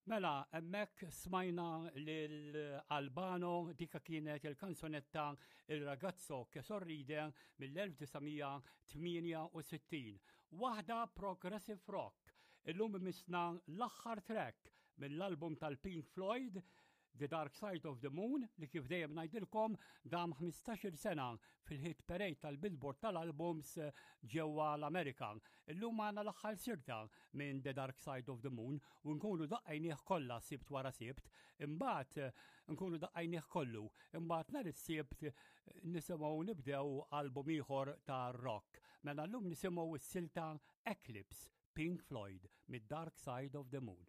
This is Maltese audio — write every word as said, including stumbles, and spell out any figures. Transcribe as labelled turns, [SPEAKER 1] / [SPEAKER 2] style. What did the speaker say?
[SPEAKER 1] Mela, hemmhekk smajna lil Albano, dika kienet il-kanzunetta Il Ragazzo che sorride mill-elf disa' mija tmienja u sittin. Waħda progressive rock. Illum imissna l-aħħar track mill-album tal-Pink Floyd, The Dark Side of the Moon, li kif dejjem ngħidilkom dam ħmistax-il sena fil-hit parade tal-Billboard tal-albums ġewwa l-Amerika. Illum għandna l-aħħar silta minn The Dark Side of the Moon u nkunu daqqajnieh kollha Sibt wara Sibt, imbagħad nkunu daqqajnieh kollu, imbagħad nhar is-Sibt nisimgħu nibdew album ieħor ta' rock. Mela llum nisimgħu s-silta Eclipse, Pink Floyd, mid-Dark Side of the Moon.